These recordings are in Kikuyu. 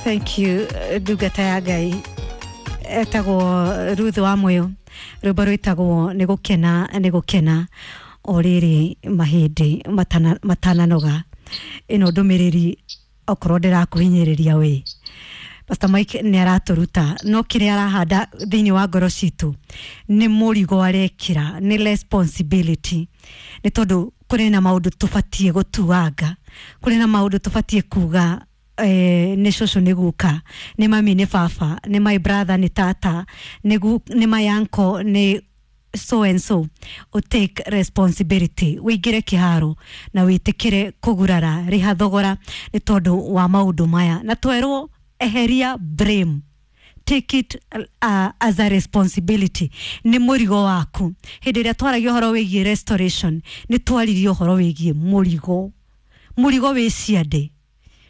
Thank you, ndungata ya Ngai etagwo Ruth wa Moyo, rwĩmbo rwĩtagwo nĩ gũkena nĩ gũkena o rĩrĩ mahĩndĩ matananoga. Ĩno ndũmĩrĩri okorwo ndĩrakũhinyĩrĩria wĩ Pastor Mike nĩ aratũruta, no kĩrĩa arahanda thĩinĩ wa ngoro citũ nĩ mũrigo arekĩra, nĩ responsibility, nĩ tondũ kũrĩ na maũndũ tũbatiĩ gũtuanga, kũrĩ na maũndũ tũbatiĩ kuga, nĩ cũcũ nĩ guka, nĩ mami nĩ baba, nĩ my brother nĩ tata, nĩ my uncle nĩ so and so. U take responsibility, wĩingĩre kĩharo na wĩtĩkĩre kũgurara, rĩha thogora nĩ tondũ wa maũndũ maya, na twerwo eheria blame, take it as a responsibility, nĩ mũrigo waku. Hĩndĩ ĩrĩa twaragia ũhoro wĩgiĩ restoration, nĩ twaririe ũhoro wĩgiĩ mũrigo, mũrigo wĩ ciande,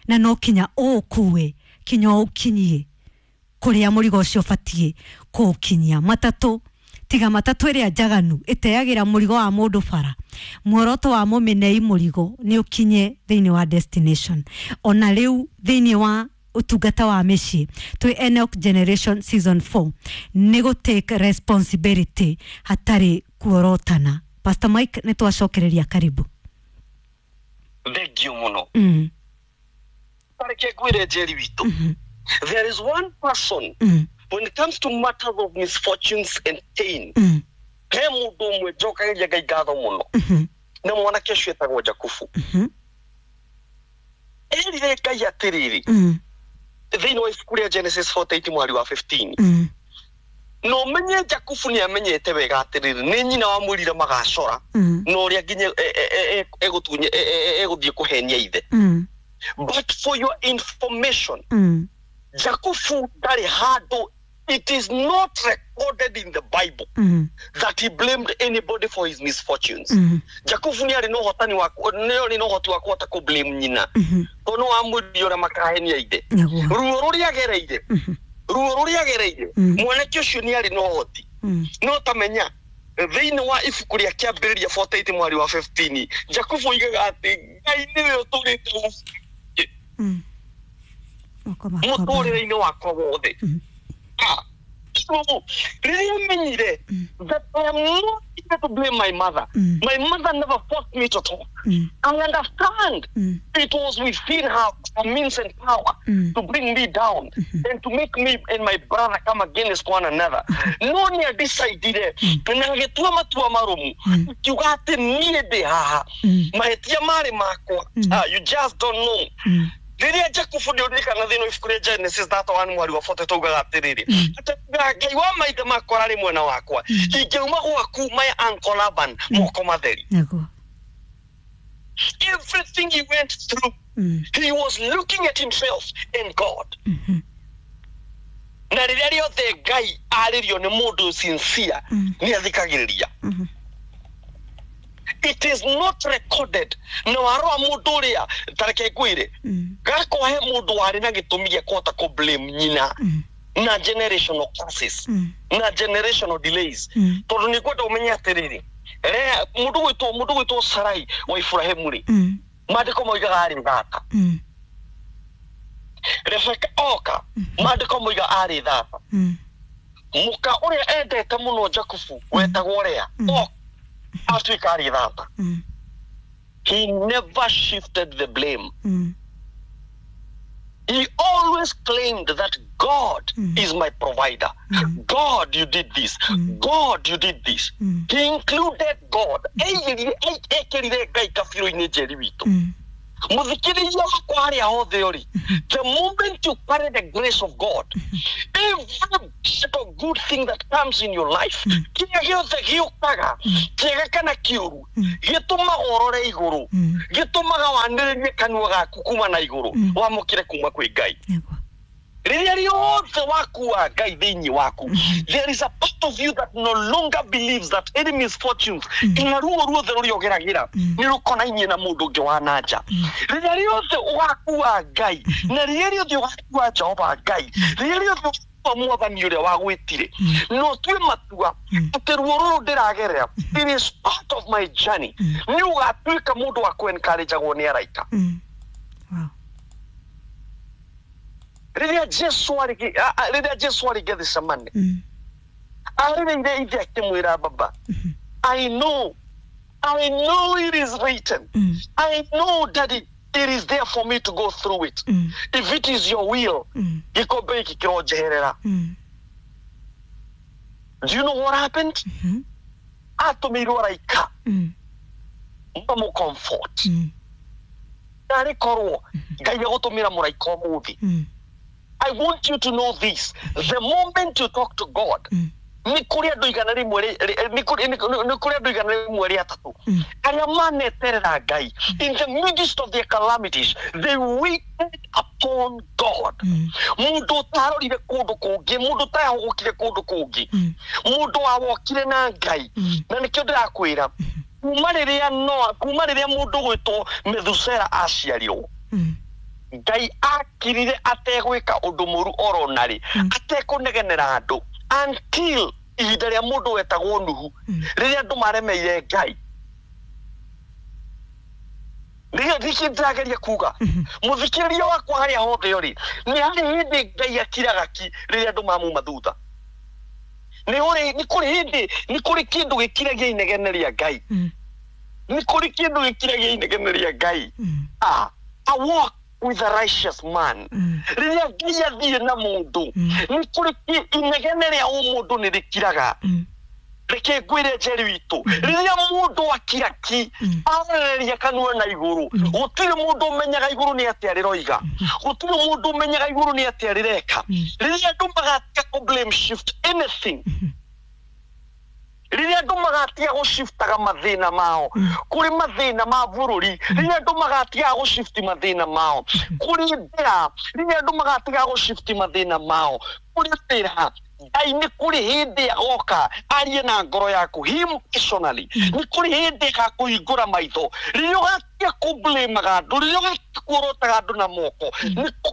na no kinya ũũkue kinya ũũkinyie kũrĩa mũrigo ũcio ũbatiĩ kũũkinyia. Matatũ, tiga matatũ ĩrĩa njaganu ĩteagĩra mũrigo wa mũndũ bara, muoroto wa mũmĩnei mũrigo nĩ ũkinye thĩinĩ wa destination. Ona rĩu thĩinĩ wa ũtungata wa mĩciĩ twĩ Enoch Generation season 4, nĩ gũ take responsibility hatarĩ kuorotana. Pastor Mike, nĩ twacokereria, karibu. Thengio mũno. Tareke ngwĩre, Njeri witũ, there is one person, when it comes to matters of misfortunes and pain, he mũndũ ũmwe njokagĩria Ngai ngatho mũno, na mwanake ũcio etagwo Jakubu. Erire Ngai atĩrĩrĩ, thĩinĩ wa ibuku rĩa Genesis 48 mweri wa 15, na ũmenye Jakubu nĩ amenyete wega atĩrĩrĩ, nĩ nyina wamwĩrire magacora, na ũrĩa nginya egũthiĩ kũhenia ithe. But for your information, Jakubu ndarĩ handũ, it is not recorded in the Bible that he blamed anybody for his misfortunes. Jakubu nĩ arĩ na ũhotani wa nĩ arĩ na ũhoti wa kũhota kũ blame nyina, tondũ nĩ wamwĩrire ũrĩa makahenia ithe. Ruo rũrĩa agereire, ruo rũrĩa agereire, mwanake ũcio nĩ arĩ na ũhoti. No tamenya thĩinĩ wa ibuku rĩa Kĩambĩrĩria 48 mwari wa 15, Jakubu oigaga atĩ Ngai nĩwe ũtũrĩte Moko makwa. mũtũrĩre-inĩ wakwa wothe. So rĩrĩa menyire that I am not here to blame my mother, my mother never forced me to talk. I understand it was within her means and power to bring me down and to make me and my brother come against one another, no nĩ adecidire na agĩtua matua marũmu, akiuga atĩ niĩ ndĩ haha, mahĩtia marĩ makwa. You just don't know. Rĩrĩa Jakubu, ndĩririkana thĩinĩ wa ibuku rĩa Genesis 31 mwari wa 40, taugaga atĩrĩrĩ, atĩ Ngai wa maithe makwa ararĩ mwena wakwa, ingĩuma gwaku my uncle Laban moko matheri. Everything he went through, he was looking at himself and God. Na rĩrĩa rĩothe Ngai arĩrio nĩ mũndũ sincere, nĩ athikagĩrĩria. It is not recorded. Na warora mũndũ ũrĩa, tareke ngwĩre, gakwa he mũndũ warĩ na gĩtũmi gĩa kũhota kũ blame nyina na generational curses na generational delays, tondũ nĩ ngwenda ũmenye atĩrĩrĩ, mũndũ gwĩtwo Sarai wa Iburahĩmu rĩ, maandĩko moigaga arĩ thata. Rebeka oka, maandĩko moiga arĩ thata. Mũka ũrĩa endete mũno Jakubu wetagwo Lea oka, atuĩka arĩ thata. He never shifted the blame. He always claimed that God is my provider. God, you did this. God, you did this. He included God. Eigirire ekĩrire Ngai kabirũ-inĩ, Njeri witũ. Mũthikĩrĩria wakwa harĩa hothe ũrĩ, the moment you carry the grace of God, every bit of good thing that comes in your life, kĩrĩa gĩothe gĩũkaga, kĩega kana kĩũru, gĩtũmaga ũrore igũrũ, gĩtũmaga wanĩrĩrie kanua gaku kuma na igũrũ, wamũkĩre kuma kwĩ Ngai. Rĩrĩa rĩothe wakua Ngai thĩinĩ waku, there is a part of you that no longer believes that any misfortunes kana ruo ruothe rũrĩa ũgeragĩra nĩ rũkonainie na mũndũ ũngĩ wa na nja. Rĩrĩa rĩothe ũgakua Ngai, na rĩrĩa rĩothe ũgakua Jehova Ngai, rĩrĩa rĩothe ũgakua mwathani ũrĩa wagwĩtire, no ũtue matua atĩ ruo rũrũ ndĩragerera, it is part of my journey, nĩ ũgatuĩka mũndũ wa kũ encourage-agwo nĩ araika. Rĩrĩa Rĩrĩa Jesu arĩ Gethsemane, arĩrĩire ithe akĩmwĩra, "Baba, I know it is written. I know that it is there for me to go through it. If it is your will, gĩkombe gĩkĩ kĩronjeherera." Do you know what happened? Atũmĩirwo araika mamũ comfort. Narĩ korwo Ngai agũtũmĩra mũraika ũmũthĩ. I want you to know this: the moment you talk to God, nĩ kũrĩ andũ 100 nĩ kũrĩ andũ 103 arĩa maneterera Ngai. In the midst of their calamities, they waited upon God. Mũndũ ũtarorire kũndũ kũngĩ, mũndũ ũtahũgũkire kũndũ kũngĩ, mũndũ wawokire na Ngai. Na nĩkĩo ndĩrakwĩra, kuma rĩrĩa Noa, kuma rĩrĩa mũndũ gwĩtwo Methusela aciarirwo, Ngai akirire ategwĩka ũndũ mũru oro narĩ, atekũnegenera andũ, until ihinda rĩa mũndũ wetagwo Nuhu, rĩrĩa andũ maremeire Ngai. Nĩkĩ ndĩrageria kuga, mũthikĩrĩria wakwa, harĩa hothe ũrĩ, nĩ harĩ hĩndĩ Ngai akiraga ki rĩrĩa andũ mamuma thutha. Nĩ kũrĩ hĩndĩ, nĩ kũrĩ kĩndũ gĩkiragia inegene rĩa Ngai. Nĩ kũrĩ kĩndũ gĩkiragia inegene rĩa Ngai. A walk with a righteous man. Rĩrĩa Ngai athiĩ na mũndũ, nĩ kũrĩ inegene rĩa ũmũndũ nĩ rĩkiraga. Reke ngwĩre, Njeri witũ, rĩrĩa mũndũ akira ki, arereria kanua na igũrũ, gũtirĩ mũndũ ũmenyaga igũrũ nĩ atĩa rĩroiga, gũtirĩ mũndũ ũmenyaga igũrũ nĩ atĩa rĩreka. Rĩrĩa andũ magatiga kũ blame shift anything, rĩrĩa andũ magatiga gũciftaga mathĩna mao kũrĩ mathĩna ma bũrũri, rĩrĩa andũ magatiga gũcifti mathĩna mao kũrĩ ndĩra, rĩrĩa andũ magatiga gũcifti mathĩna mao kũrĩ wĩra, Ngai nĩ kũrĩ hĩndĩ agoka arie na ngoro yaku, him personally. Nĩ kũrĩ hĩndĩ agakũhingũra maitho rĩrĩa ũgatiga kũblĩmaga andũ, rĩrĩa ũgatiga kuorotaga andũ na moko.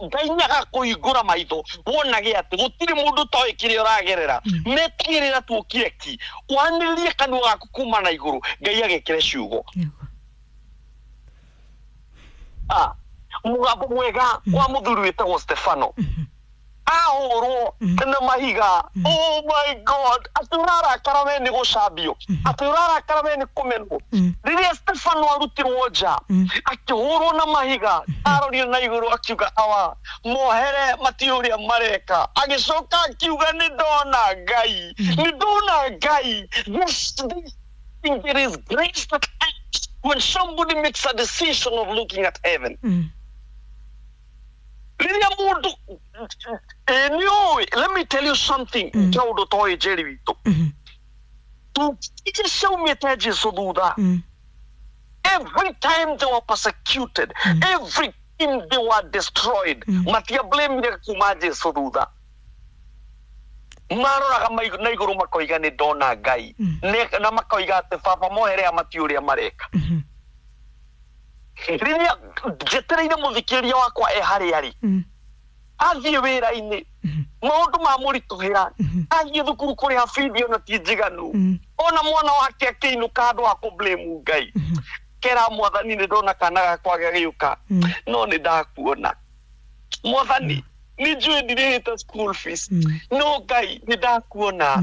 Ngai nĩ agakũhingũra maitho wonage atĩ gũtirĩ mũndũ ũtoĩ kĩrĩa ũragerera. Metagĩrĩra tu ũkire ki, wanĩrĩrie kanua gaku kuma na igũrũ, Ngai agekĩre ciugo. Mũgambo mwega wa mũthuri wĩtagwo Stefano ahũrwo na mahiga. Oh my God! Atĩ ũrarakara we nĩ gũcambio, atĩ ũrarakara we nĩ kũmenwo. Rĩrĩa Stefano arutirwo nja akĩhũrwo na mahiga, arorire na igũrũ akiuga, "Awa, mohere, matiũ ũrĩa mareka." Agĩcoka akiuga, "Nĩ ndona Ngai, nĩ ndona Ngai." This there is grace that acts when somebody makes a decision of looking at heaven. Rĩrĩa mũndũ nĩ ũĩ, let me tell you something, kaũndũ toĩ, Njeri witũ, iria ciaumĩte Jesu thutha, every time they were persecuted, every time they were destroyed, matiablamire kuma Jesu thutha. Maroraga na igũrũ makoiga, "Nĩ ndona Ngai." Na makoiga atĩ, "Baba, mohere, matiũ ũrĩa mareka." Rĩrĩa njetereire mũthikĩrĩria wakwa e harĩa arĩ, athiĩ wĩra-inĩ maũndũ mamũritũhĩra, athiĩ thukuru kũrĩha bithi ona ti njiganu, ona mwana wake akĩinũka, handũ ha kũ-blame Ngai, kera, "Mwathani, nĩ ndona kana gakwa gagĩũka, no nĩ ndakuona. Mwathani, nĩ njũĩ ndirĩhĩte school fees, no Ngai, nĩ ndakuona.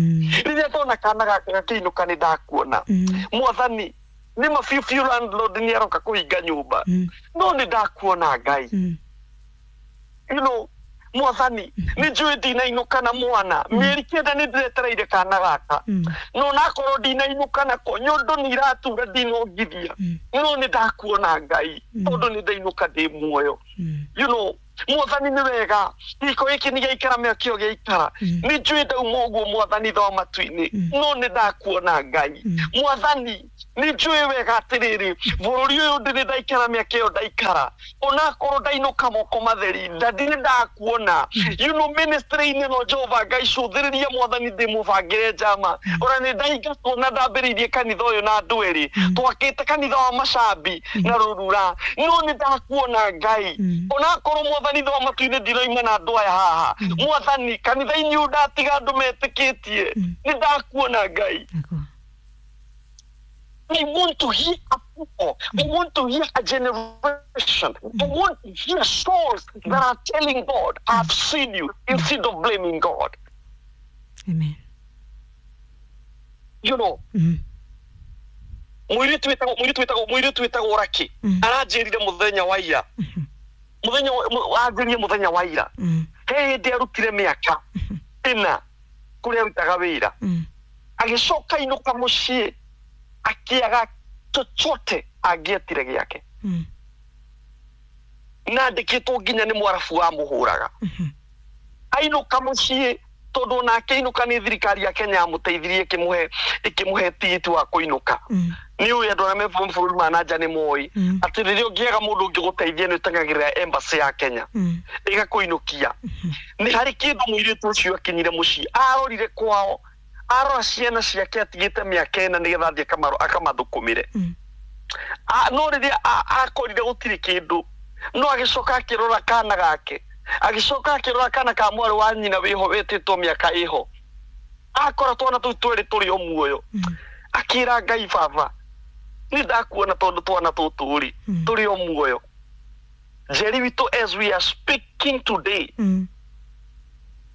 Rĩrĩa ndona kana gaka gakĩinũka, nĩ ndakuona. Mwathani, nĩ ma biũ biũ landlord nĩ aroka kũhinga nyũmba, no nĩ ndakuona Ngai. Mwathani, nĩ njũĩ ndinainũka na mwana mĩeri 9, nĩ ndĩretereire kana gaka, no nakorwo ndinainũka nako, nyondo nĩ iratura, ndinongithia, no nĩ ndakuona Ngai, tondũ nĩ ndainũka ndĩ muoyo. Mwathani, nĩ wega gĩko gĩkĩ nĩ gĩaikara mĩaka ĩyo gĩaikara, nĩ njũĩ ndauma ũguo, Mwathani tho matu-inĩ, no nĩ ndakuona Ngai. Mwathani, nĩ njũĩ wega atĩrĩrĩ, bũrũri ũyũ ndĩrĩ ndaikara mĩaka ĩyo ndaikara, onakorwo ndainũka moko matheri, ndandirĩ ndakuona. Ministry-inĩ no Jehova Ngai cũthĩrĩria, Mwathani, ndĩmũbangĩre njama. Ona nĩ ndaingatwo na ndambĩrĩirie kanitha ũyũ na andũ erĩ, twakĩte kanitha wa macambi na rũrura, no nĩ ndakuona Ngai. Onakorwo, Mwathani tho matu-inĩ, ndinoima na andũ aya haha, Mwathani, kanitha-inĩ ũyũ ndatiga andũ metĩkĩtie, nĩ ndakuona Ngai." I want to hear a people. I want to hear a generation. I want to hear souls that are telling God, I've seen you, instead of blaming God. Amen. You know, mũirĩtu wĩtagwo Raki aranjĩrire mũthenya wa ira, mũthenya anjĩrire mũthenya wa ira, he hĩndĩ arutire mĩaka 4 kũrĩa arutaga wĩra, agĩcoka inũka mũciĩ akĩaga chochote angĩetire gĩake, na andĩkĩtwo nginya nĩ mwarabu wamũhũraga. Ainũka mũciĩ tondũ nake inũka nĩ thirikari ya Kenya yamũteithirie ĩkĩmũhe tigiti wa kũinũka. Nĩ ũĩ andũ arĩa me bũrũri ma na nja nĩ moĩ atĩ rĩrĩa ũngĩaga mũndũ ũngĩgũteithia nĩ ũteng'agĩrĩra embassy ya Kenya ĩgakũinũkia. Nĩ harĩ kĩndũ mũirĩtu ũcio akinyire mũciĩ, arorire kwao, arora ciana ciake atigĩte mĩaka 4 nĩgetha athiĩ akamathũkũmĩre. No rĩrĩa akorire gũtirĩ kĩndũ, no agĩcoka akĩrora kana gake, agĩcoka akĩrora kana ka mwarĩ wa nyina wĩho wĩtĩtwo mĩaka ĩho, akora twana tũu twĩrĩ tũrĩ o muoyo, akĩra Ngai, baba nĩ ndakuona tondũ twana tũtũ rĩ tũrĩ o muoyo. Njeri witũ, as we are speaking today,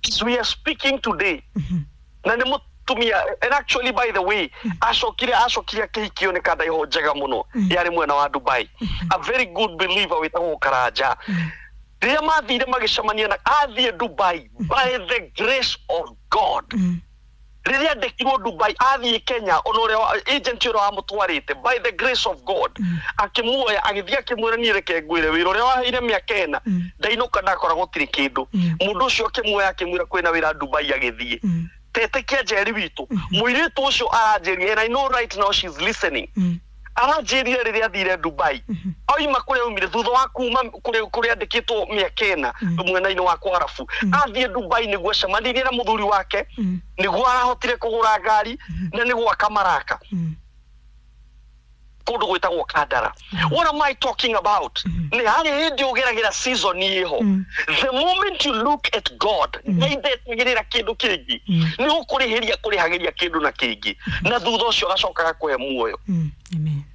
as we are speaking today, na nĩ mũtumia, and actually by the way, acokire akĩhikio nĩ kandaiho njega mũno yarĩ mwena wa Dubai, a very good believer wĩtagwo Karanja. Rĩrĩa mathire magĩcemania na athiĩ Dubai by the grace of God, rĩrĩa andĩkirwo Dubai athiĩ Kenya, ona ũrĩa agent ũrĩa wamũtwarĩte by the grace of God akĩmuoya agĩthiĩ akĩmwĩra, niĩ reke ngwĩre wĩra ũrĩa waheire mĩaka 4 ndainũka ndakora gũtirĩ kĩndũ. Mũndũ ũcio akĩmuoya akĩmwĩra kwĩna wĩra Dubai, agĩthiĩ. Tetĩkia Njeri witũ, mũirĩtu ũcio aranjĩria, and I know right now she's listening, aranjĩrire rĩrĩa athire Dubai, oima kũrĩa aumire thutha wa kuma kũrĩa andĩkĩtwo mĩaka 4 mwena-inĩ wa Kwarabu, athiĩ Dubai nĩguo acemanirie na mũthuri wake, nĩguo arahotire kũgũra ngari na nĩguo akamaraka kũndũ gwĩtagwo Kandara. What am I talking about? Nĩ harĩ hĩndĩ ũgeragĩra season ĩho. The moment you look at God, Ngai ndetagĩrĩra kĩndũ kĩngĩ, nĩ gũkũrĩhĩria kũrĩhagĩria kĩndũ na kĩngĩ, na thutha ũcio agacoka agakũhe muoyo. Amen.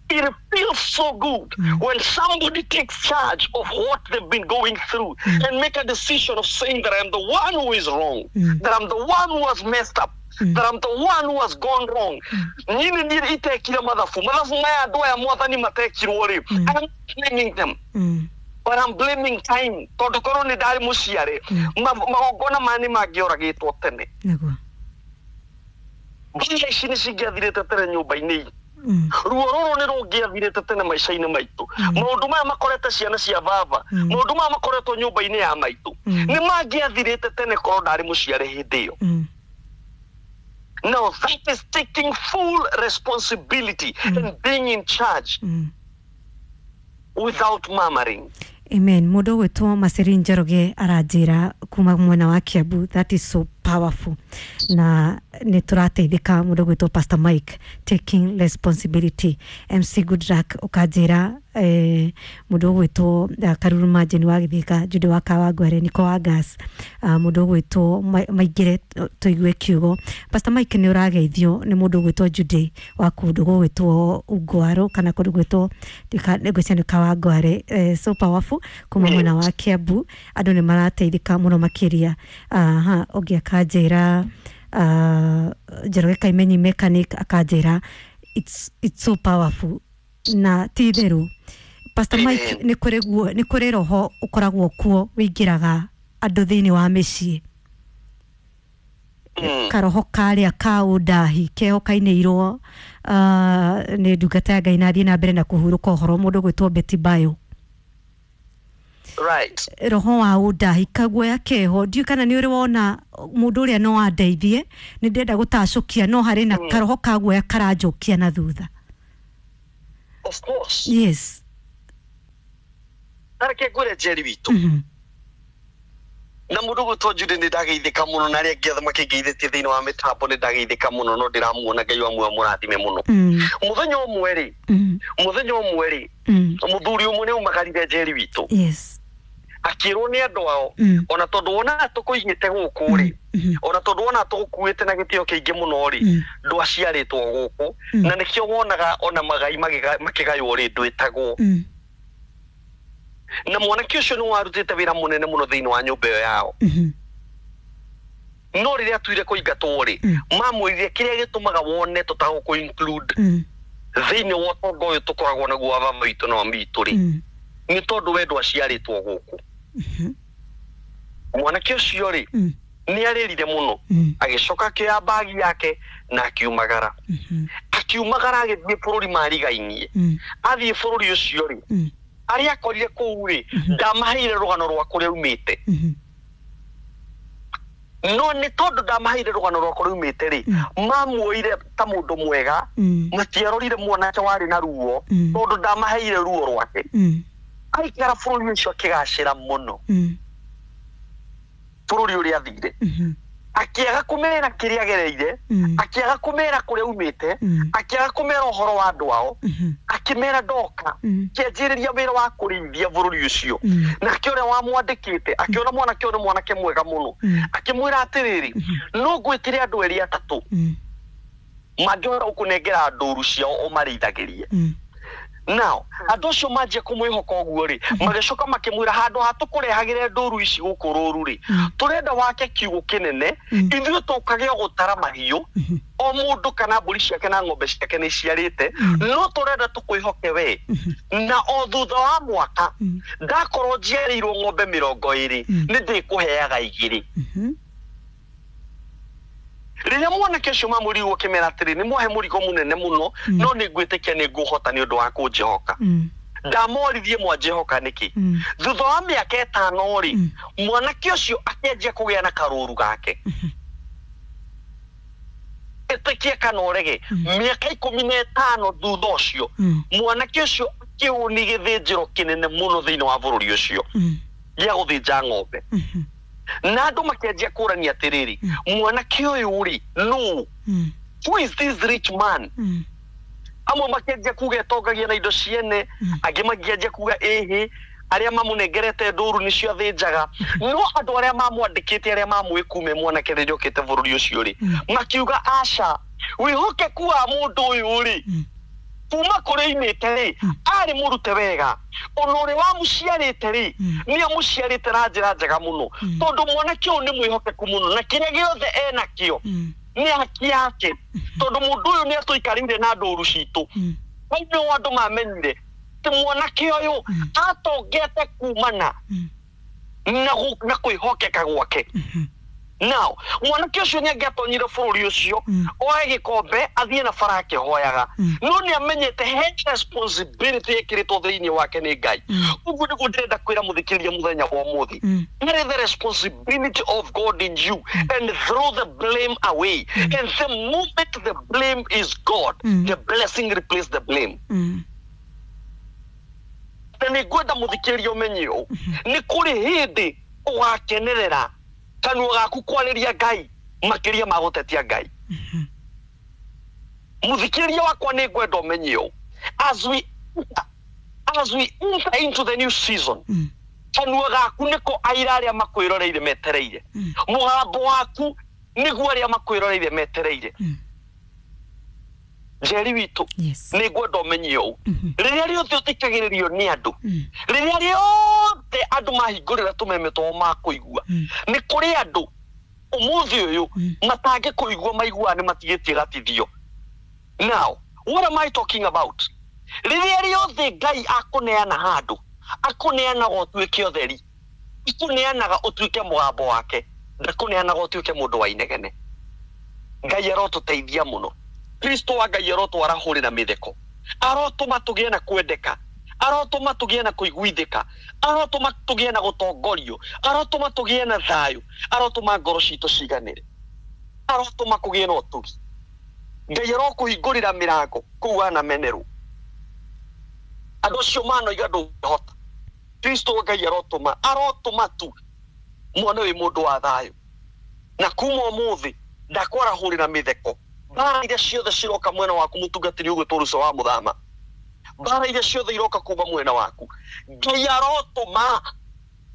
It feels so good when somebody takes charge of what they've been going through and make a decision of saying that I'm the one who is wrong, that I'm the one who has messed up, that I'm the one who has gone wrong. Nini nĩ itekire mathabu maya andũ aya mwathani matekirwo rĩ, I'm blaming them, but I'm blaming time, tondũ korwo nĩ ndarĩ mũciare, magongona maya nĩ mangĩoragĩtwo tene. Nĩguo. Mbia ici nĩ cingĩathirĩte tene nyũmba-inĩ, ruo rũrũ nĩ rũngĩathirĩte tene maica-inĩ maitũ. Maũndũ maya makorete ciana cia baba, maũndũ maya makoretwo nyũmba-inĩ ya maitũ nĩ mangĩathirĩte tene korwo ndarĩ mũciare hĩndĩ ĩyo. Now that is taking full responsibility and being in charge without murmuring. Amen. Mũndũ ũgwĩtwo Maceri Njoroge aranjĩra kuma mwena wa Kiambu, that is so powerful, na nĩ tũrateithĩka. Mũndũ ũgwĩtwo Pastor Mike, taking responsibility. MC Goodluck ũkanjĩra, mũndũ ũgwĩtwo Karuru Majeni wa Gĩthĩka, Jude wa Kawangware, Niko wa Gas, mũndũ ũgwĩtwo Maingĩre tũigue kiugo. Pastor Mike nĩ ũrageithio nĩ mũndũ ũgwĩtwo Jude wa kũndũ gũgwĩtwo Ungwaro kana kũndũ gwĩtwo ngwĩciria nĩ Kawangware. So powerful kuma mwena wa Kiambu, andũ nĩ marateithĩka mũno makĩria. Aha, ũngĩ akanjĩra Njoroge Kaimenyi mechanic akanjĩra it's so powerful, na ti itherũ Pastor Mike, nĩ kũrĩ guo, nĩ kũrĩ roho ũkoragwo kuo wĩingĩraga andũ thĩinĩ wa mĩciĩ, karoho karĩa ka ũndahi keho kainĩirwo nĩ ndungata ya Ngai na athiĩ na mbere na kũhurũka ũhoro, mũndũ gwĩtwo Betty Bayo. Right. Roho wa ũndahi kaguoya keho, ndiũĩ kana nĩ ũrĩ wona mũndũ ũrĩa no andeithie, nĩ ndĩrenda gũtacũkia no harĩ na karoho ka guoya karanjũkia na thutha. Of course. Yes. Reke ngwĩre Njeri witũ, na mũndũ gwĩtwo Jude nĩ ndageithĩka mũno, na arĩa angĩ othe makĩngeithĩtie thĩinĩ wa mĩtambo nĩ ndageithĩka mũno, no ndĩramuona Ngai wa muoyo mũrathime mũno. Mũthenya ũmwe rĩ, mũthuri ũmwe nĩ aumagarire Njeri witũ. Yes. Akĩrwo nĩ andũ ao, ona tondũ wonaga tũkũigĩte gũkũ rĩ, ona tondũ wonaga tũgũkuĩte na gĩtĩo kĩingĩ mũno rĩ, ndwaciarĩtwo gũkũ, na nĩkĩo wonaga ona magai makĩgaywo rĩ, ndwĩtagwo. Na mwanake ũcio nĩ warutĩte wĩra mũnene mũno thĩinĩ wa nyũmba ĩyo yao. No rĩrĩa atuire kũingatwo rĩ, mamwĩrire kĩrĩa gĩtũmaga wone tũtagũkũ include thĩinĩ wa ũtonga ũyũ tũkoragwo naguo wa baba witũ na mami witũ rĩ, nĩ tondũ we ndwaciarĩtwo gũkũ. Mwanake ũcio rĩ, nĩ arĩrire mũno, agĩcoka akĩoya mbagi yake na akiumagara. Akiumagara agĩthiĩ bũrũri marigainie. Athiĩ bũrũri ũcio rĩ, arĩa akorire kũu rĩ, ndamaheire rũgano rwa kũrĩa aumĩte. No nĩ tondũ ndamaheire rũgano rwa kũrĩa aumĩte rĩ, mamuoire ta mũndũ mwega, matiarorire mwanake warĩ na ruo, tondũ ndamaheire ruo rwake. Aikara bũrũri ũcio akĩgacĩra mũno, bũrũri ũrĩa athire. Akĩaga kũmera kĩrĩa agereire, akĩaga kũmera kũrĩa aumĩte, akĩaga kũmera ũhoro wa andũ ao, akĩmera ndoka, kĩanjĩrĩria wĩra wa kũrĩithia bũrũri ũcio. Nake ũrĩa wamwandĩkĩte akĩona mwanake ũyũ nĩ mwanake mwega mũno, akĩmwĩra atĩrĩrĩ, no ngwĩtĩre andũ erĩ atatũ mangĩhota gũkũnengera ndũru ciao ũmarĩithagĩrie. Now andũ acio manjia kũmwĩhoka ũguo rĩ, magĩcoka makĩmwĩra handũ ha tũkũrehagĩre ndũru ici gũkũ rũru rĩ, tũrenda wake kiugũ kĩnene, ithuĩ tũkage o gũtara mahiũ, o mũndũ kana mbũri ciake na ng'ombe ciake nĩ iciarĩte, no tũrenda tũkwĩhoke we, na o thutha wa mwaka ndakorwo njiarĩirwo ng'ombe 20, nĩ ndĩkũheaga 2. Rĩrĩa mwanake ũcio mamũrigwo akĩmera atĩrĩ, nĩ mwahe mũrigo mũnene mũno, no nĩ ngwĩtĩkia nĩ ngũhota nĩ ũndũ wa kũnjĩhoka. Ndamoririe mwanjĩhoka nĩkĩ? Thutha wa mĩaka 5 rĩ, mwanake ũcio akĩanjia kũgĩa na karũru gake. Ĩtĩkie kana ũrege, mĩaka 15 thutha ũcio, mwanake ũcio akĩũni gĩthĩnjĩro kĩnene mũno thĩinĩ wa bũrũri ũcio gĩa gũthĩnja ng'ombe. Na andũ makĩanjia kũrania atĩrĩrĩ, mwanake ũyũ rĩ, nũ? Who is this rich man? Amwe makĩanjia kuga etongagia na indo ciene, angĩ makĩanjia kuga ĩhĩ, arĩa mamũnengerete ndũru nĩcio athĩnjaga. No andũ arĩa mamwandĩkĩte, arĩa mamũĩ kuma mwanake rĩrĩa okĩte bũrũri ũcio rĩ, makiuga aca, wĩhokeku wa mũndũ ũyũ rĩ, kuma kũrĩa aimĩte rĩ, arĩ mũrute wega, ona ũrĩa wamũciarĩte rĩ, nĩ amũciarĩte na njĩra njega mũno, tondũ mwanake ũyũ nĩ mwĩhokeku mũno, na kĩrĩa gĩothe enakĩo nĩ haki yake, tondũ mũndũ ũyũ nĩ atũikarĩire na ndũru citũ. Hau nĩho andũ mamenyire atĩ mwanake ũyũ atongete kumana na kwĩhokeka gwake. Now mwanake ũcio nĩ angĩatonyire bũrũri ũcio, oe gĩkombe athiĩ na bara akĩhoyaga, no nĩ amenyete he responsibility ĩkĩrĩtwo thĩinĩ wake nĩ Ngai. Ũguo nĩguo ndĩrenda kwĩra mũthikĩrĩria mũthenya wa ũmũthĩ, carry the responsibility of God in you and throw the blame away. And the moment the blame is God, the blessing replaces the blame. Na nĩ ngwenda mũthikĩrĩria ũmenye ũũ, nĩ kũrĩ hĩndĩ ũgakenerera kanua gaku kwarĩria Ngai makĩria ma gũtetia Ngai. Mũthikĩrĩria wakwa nĩ ngwenda ũmenye ũũ, as we enter into the new season, kanua gaku nĩko aira arĩa makwĩroreire metereire, mũgambo waku nĩguo arĩa makwĩroreire metereire. Njeri witũ, nĩ ngwenda ũmenye ũũ, rĩrĩa rĩothe ũthikagĩrĩrio nĩ andũ, rĩrĩa rĩothe andũ mahingũrĩra tũmeme twao makũigua, nĩ kũrĩ andũ ũmũthĩ ũyũ matangĩkũigua maiguaga nĩ matigĩtie gatithio. Now what am I talking about? Rĩrĩa rĩothe Ngai akũneana handũ, akũneanaga ũtuĩke ũtheri, akũneanaga ũtuĩke mũgambo wake, ndakũneanaga ũtuĩke mũndũ wa inegene. Ngai arotũteithia mũno. Kristo wa Ngai arotwarahũrĩra mĩtheko, arotũma tũgĩe na kwendeka, arotũma tũgĩe na kũiguithĩka, arotũma tũgĩe na gũtongorio, arotũma tũgĩe na thayũ, arotũma ngoro citũ ciganĩre, arotũma kũgĩe na ũtugi. Ngai arokũhingũrĩra mĩrango kũu wanamenerwo. Andũ acio manoiga ndũngĩhota, Kristo wa Ngai arotũma, arotũma tu mwana wĩ mũndũ wa thayũ. Na kuma ũmũthĩ ndakwarahũrĩra mĩtheko. Mbara iria ciothe ciroka mwena waku mũtungatĩri ũgwĩtwo Ruco wa Mũthama, mbara iria ciothe iroka kuma mwena waku, Ngai arotũma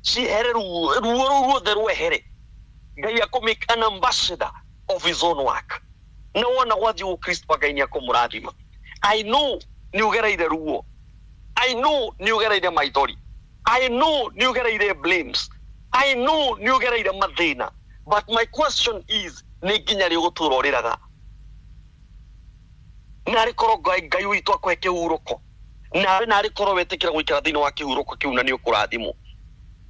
Ciehere ruo ruo rũu ruothe rwehere. Ngai akũmake an ambassador of his own work. Na wona gwathiĩ ũguo Kristo Ngai nĩ akũmũrathima. I know nĩ ũgereire ruo. I know nĩ ũgereire maithori. I know nĩ ũgereire blames. I know nĩ ũgereire mathĩna. But my question is, nĩ nginya rĩ ũgũtũra ũrĩraga? Narĩ korwo Ngai witũ akũhe kĩhurũko. Nawe narĩ korwo wetĩkĩra gũikara thĩinĩ wa kĩhurũko kĩu na nĩ ũkũrathimwo.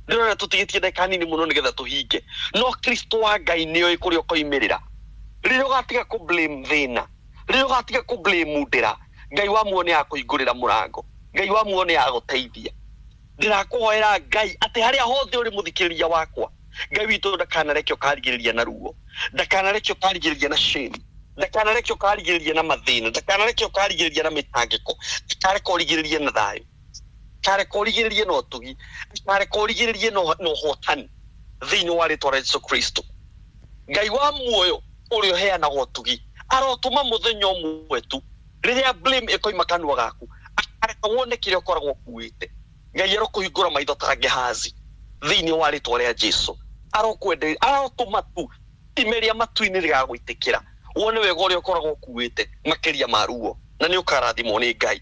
Ndĩrona tũtigĩtie ndagĩka nini mũno nĩgetha tũhinge. No Kristo wa Ngai nĩoĩ kũrĩa ũkoimĩrĩra. Rĩrĩa ũgatiga kũ blame thĩna, rĩrĩa ũgatiga kũ blame ndĩra, Ngai wa muoyo nĩ akũhingũrĩra mũrango. Ngai wa muoyo nĩ agũteithia. Ndĩrakũhoera Ngai atĩ harĩa hothe ũrĩ mũthikĩrĩria wakwa, Ngai witũ ndakanareke ũkarigĩrĩria na ruo, ndakanareke ũkarigĩrĩria na shame, ndakanareke ũkarigĩrĩria na mathĩna, ndakanareke ũkarigĩrĩria na mĩtangĩko, ndakareke ũrigĩrĩrie na thayũ, ndakareke ũrigĩrĩrie na ũtugi, ndakareke ũrigĩrĩrie na ũhotani thĩinĩ wa rĩtwa rĩa Jesu Kristo. Ngai wa muoyo ũrĩa ũheanaga ũtugi arotũma mũthenya ũmwe tu rĩrĩa blame ĩkoima kanua gaku, akareka wone kĩrĩa ũkoragwo ũkuĩte. Ngai arokũhingũra maitho ta Gehazi thĩinĩ wa rĩtwa rĩa Jesu. Arokwende, arotũma tu ime rĩa matu-inĩ rĩgagũitĩkĩra wone wega ũrĩa ũkoragwo ũkuĩte makĩria ma ruo, na nĩ ũkarathimwo nĩ Ngai.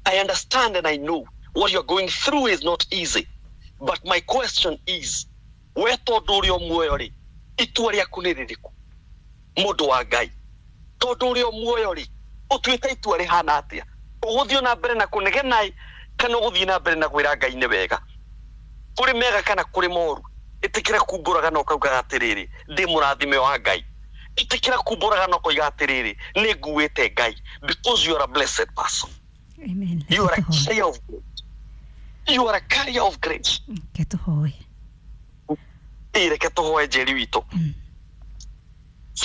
I understand and I know what you're going through is not easy. But my question is, we tondũ ũrĩ o muoyo rĩ, itua rĩaku nĩ rĩrĩkũ? Mũndũ wa Ngai, tondũ ũrĩ o muoyo rĩ, ũtuĩte itua rĩhana atĩa? Ũgũthiĩ na mbere na kũnegena kana ũgũthiĩ na mbere na kwĩra Ngai nĩ wega? Kũrĩ mega kana kũrĩ moru? Ĩtĩkĩra kumbũraga na ũkaugaga atĩrĩrĩ, ndĩ mũrathime wa Ngai. Ĩtĩkĩra kumbũraga na ũkoiga atĩrĩrĩ, nĩ nguĩte Ngai, because you are a blessed person. Amen. You are a carrier of grace. You are a carrier of grace. Reke tũhoe. Reke tũhoe Njeri witũ.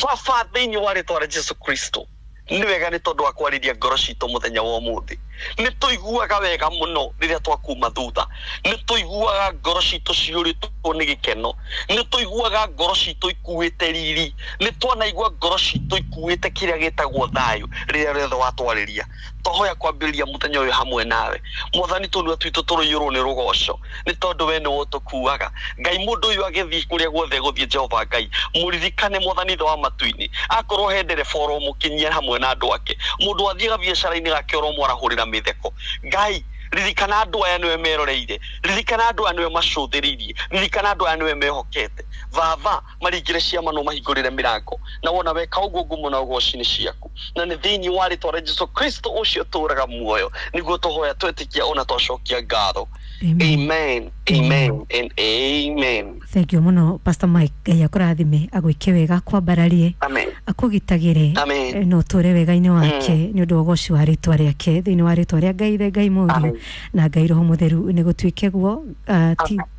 Baba, thĩinĩ wa rĩtwa rĩa Jesu Kristo, nĩ wega nĩ tondũ wa kwarĩria ngoro citũ mũthenya wa ũmũthĩ. Nĩ tũiguaga wega mũno rĩrĩa twakuma thutha. Nĩ tũiguaga ngoro citũ ciyũrĩtwo nĩ gĩkeno. Nĩ tũiguaga ngoro citũ ikuĩte riri. Nĩ twanaigua ngoro citũ ikuĩte kĩrĩa gĩtagwo thayũ rĩrĩa rĩothe watwarĩria. Twahoya kwambĩrĩria mũthenya ũyũ hamwe nawe. Mwathani, tũnua twitũ tũrũiyũrwo nĩ rũgoco nĩ tondũ we nĩwe ũtũkuaga. Ngai, mũndũ ũyũ agĩthiĩ kũrĩa guothe gũthiĩ, Jehova Ngai mũririkane, Mwathani Ithe wa matu-inĩ, akorwo he ndereba ũromũkinyia hamwe na andũ ake, mũndũ athiaga biacara-inĩ gake ũromwarahũrĩra mĩtheko. Ngai, ririkana andũ aya nĩwe meroreire, ririkana andũ aya nĩwe macũthĩrĩirie, ririkana andũ aya nĩwe mehokete. Baba, maringĩre ciama no mahingũrĩre mĩrango, na wona weka ũguo ngumo na ũgoci nĩ ciaku, na nĩ thĩinĩ wa rĩtwa rĩa Jesu Kristo ũcio ũtũũraga muoyo nĩguo tũhoya twetĩkia ona twacokia ngatho. Amen, amen and amen. Thank you mũno Pastor Mike. Ngai akũrathime, agwĩke wega, akwambararie, Amen. akũgitagĩre Amen. na ũtũre wega-inĩ wake nĩ ũndũ wa ũgoci wa rĩtwa rĩake, thĩinĩ wa rĩtwa rĩa Ngai Ithe, Ngai Mũriũ Amen. na Ngai Roho Mũtheru, nĩ gũtuĩke guo.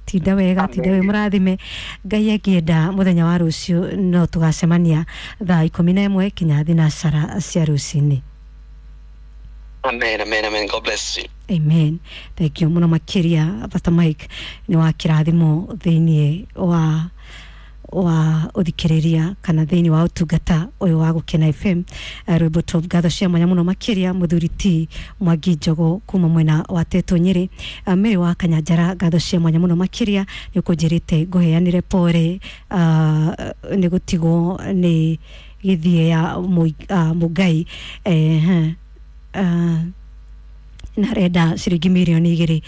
Tinda wega, tinda wĩ mũrathime. Ngai angĩenda, mũthenya wa rũciũ no tũgacemania thaa 11 kinya thinacara cia rũcinĩ. Amen, amen, amen. God bless you. Amen. Thank you mũno makĩria Pastor Mike, nĩ wa kĩrathimo thĩinĩ wa ũthikĩrĩria kana thĩinĩ wa ũtungata ũyũ wa Gũkena FM. Rwĩmbo top, ngatho cia mwanya mũno makĩria mũthuri ti Mwangi Njogo kuma mwena wa Tetũ Nyĩrĩ. Mary wa Kanyanjara, ngatho cia mwanya mũno makĩria nĩ ũkũnjĩrĩte ngũheanĩre pore nĩ gũtigwo nĩ gĩthiĩ ya Mũngai na arenda ciringi mirioni 2.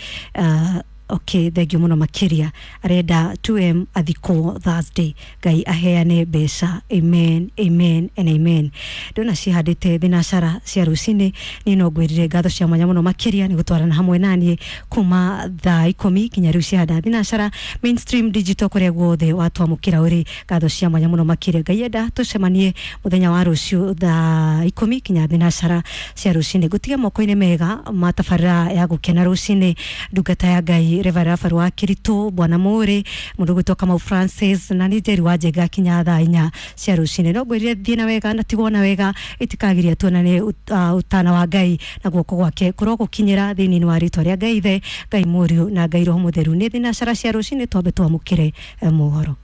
Okay, thank you mũno makĩria. Arenda 2M athikwo Thursday. Ngai aheane mbeca. Amen, amen and amen. Ndona cihandĩte thinacara cia rũcinĩ. Niĩ no ngwĩrire ngatho cia mwanya mũno makĩria nĩ gũtwarana hamwe naniĩ kuma thaa 10 kinya rĩu cihanda thinacara. Mainstream Digital, kũrĩa guothe watwamũkĩra ũrĩ, ngatho cia mwanya mũno makĩria. Ngai enda tũcemanie mũthenya wa rũciũ thaa 10 kinya thinacara cia rũcinĩ. Ngũtige moko-inĩ mega ma tabarĩra ya Gũkena rũcinĩ, ndungata ya Ngai Reverend Rafael wa Kiritu, Bwana Mũrĩ, mũndũ gwĩtwo Kamau Francis, na nĩ Njeri wa Njenga kinya thaa 4 cia rũcinĩ. No ngwĩrire thiĩ na wega na tigwo na wega, itikagiria tuonane ũtana wa Ngai na guoko gwake kũrogũkinyĩra thĩinĩ wa rĩtwa rĩa Ngai Ithe, Ngai Mũriũ na Ngai Roho Mũtheru. Nĩ thinacara cia rũcinĩ, twambe twamũkĩre mohoro.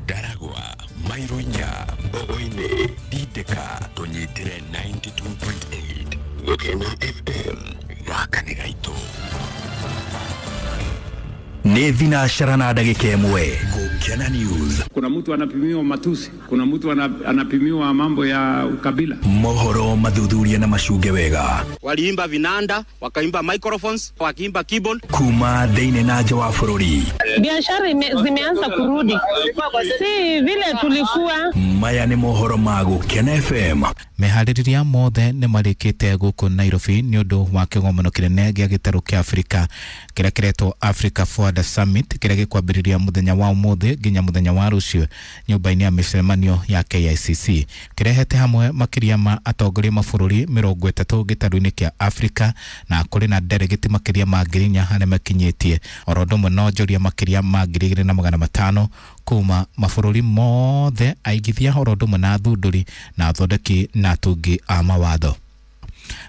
Ndaragwa, mairo 4, Mbogo-inĩ, Tindĩka, tũnyitĩre 92.8 Gũkena FM, gaka nĩ gaitũ. Nĩ thinacara na ndagĩka 1. Gũkena News. Kuna mtu anapimiwa matusi, kuna mtu anapimiwa mambo ya ukabila. Mohoro mathuthuria na macunge wega. Waliimba vinanda, wakaimba microphones, wakiimba keyboard. Kuma thĩinĩ na nja wa bũrũri. Biashara zimeanza kurudi, si vile tulikuwa. Maya nĩ mohoro ma Gũkena FM. Meharĩrĩria mothe nĩ marĩkĩte gũkũ Nairobi nĩ ũndũ wa kĩgomano kĩnene gĩa gĩtarũ kĩa Afrika kĩrĩa kĩretwo Africa Forward Summit kĩrĩa gĩkwambĩrĩria mũthenya wa ũmũthĩ nginya mũthenya wa rũciũ nyũmba-inĩ ya mĩcemanio ya KICC. Kĩrehete hamwe makĩria ma atongoria mabũrũri 30 gĩtarũ-inĩ kĩa Afrika, na kũrĩ na delegate makĩria ma 4,000 arĩa makinyĩtie oro ũndũ ũmwe na onjoria makĩria ma 2,500 kuma mabũrũri mothe, aigithia oro ũndũ ũmwe na athundũri na athondeki na atungi a mawatho.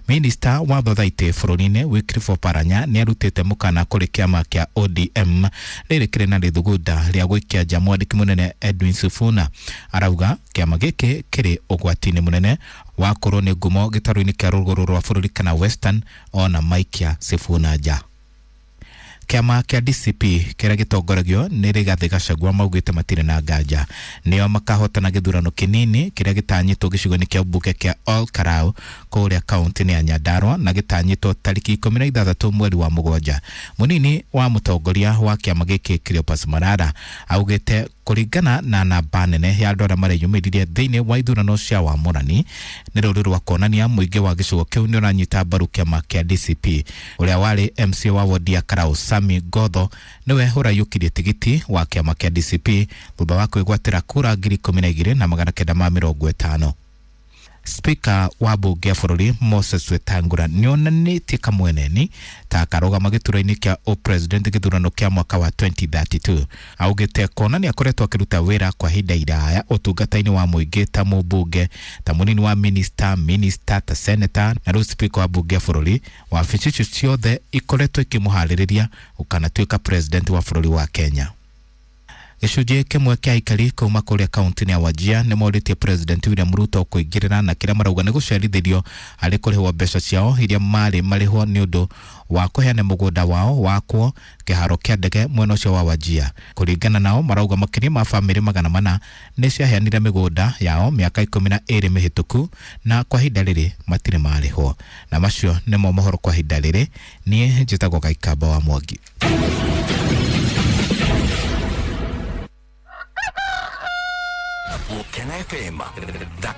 Minista wa thothaitĩ bũrũri-inĩ Wycliffe Oparanya nĩ arutĩte mũkana kũrĩ kĩama kĩa ODM rĩrĩ kĩrĩ na rĩthugunda rĩa gũikia nja mwandĩki mũnene Edwin Sifuna. Arauga kĩama gĩkĩ kĩrĩ ũgwati-inĩ mũnene wa kũrwo nĩ ngumo gĩtarũ-inĩ kĩa rũgũrũ rwa bũrũri kana Western ona maikia Sifuna nja. Kĩama kĩa DCP kĩrĩa gĩtongoragio nĩ Rigathĩ Gachagua maugĩte matirĩ na nganja nĩo makahotana gĩthurano kĩnini kĩrĩa gĩtanyĩtwo gĩcigo-inĩ kĩa mbunge kĩa Ol Kalou kũrĩa kaunti-inĩ ya Nyandarua na gĩtanyĩtwo tarĩki 16 mweri wa 7. Mũnini wa mũtongoria wa kĩama gĩkĩ Cleopas Malala augĩte kũringana na namba nene ya andũ arĩa mareyumĩririe thĩinĩ wa ithurano cia wamũrani nĩ rũrĩ rwa kuonania mũingĩ wa gĩcigo kĩu nĩ ũranyita mbaru kĩama kĩa DCP. Ũrĩa warĩ MC wa wodi ya Karau Sami Gotho nĩwe ũraiyũkirie tigiti wa kĩama kĩa DCP thutha wa kwĩgwatĩra kura 12,950. Speaker wa bunge ya bũrũri Moses Wetangula nĩonanĩtie kamweneni ta akarũgama gĩturwa-inĩ kĩa ũpresident gĩthurano kĩa mwaka wa 2032. Augĩte kuona nĩ akoretwo akĩruta wĩra kwa ihinda iraya ũtungata-inĩ wa mũingĩ ta mũmbunge, ta mũnini wa minister, ta senator na rĩu speaker wa bunge ya bũrũri. Wabici icio ciothe ikoretwo ikĩmũharĩrĩria gũkanatuĩka president wa bũrũri wa Kenya. Gĩcunjĩ kĩmwe kĩa aikari kuma kũrĩa kaunti-inĩ ya Wajir nĩ morĩtie President William Ruto kũingĩrĩra na kĩrĩa marauga nĩ gũcerithĩrio harĩ kũrĩhwo mbeca ciao iria marĩ marĩhwo nĩ ũndũ wa kũheana mũgũnda wao wakwo kĩharo kĩa ndege mwena ũcio wa Wajir. Kũringana nao marauga makĩria ma bamĩrĩ 400 nĩ ciaheanire mĩgũnda yao mĩaka 12 mĩhĩtũku na kwa ihinda rĩrĩ matirĩ marĩhwo. Na macio nĩmo mohoro kwa ihinda rĩrĩ. Niĩ njĩtagwo Gaikamba wa Mwangi. Gũkena FM.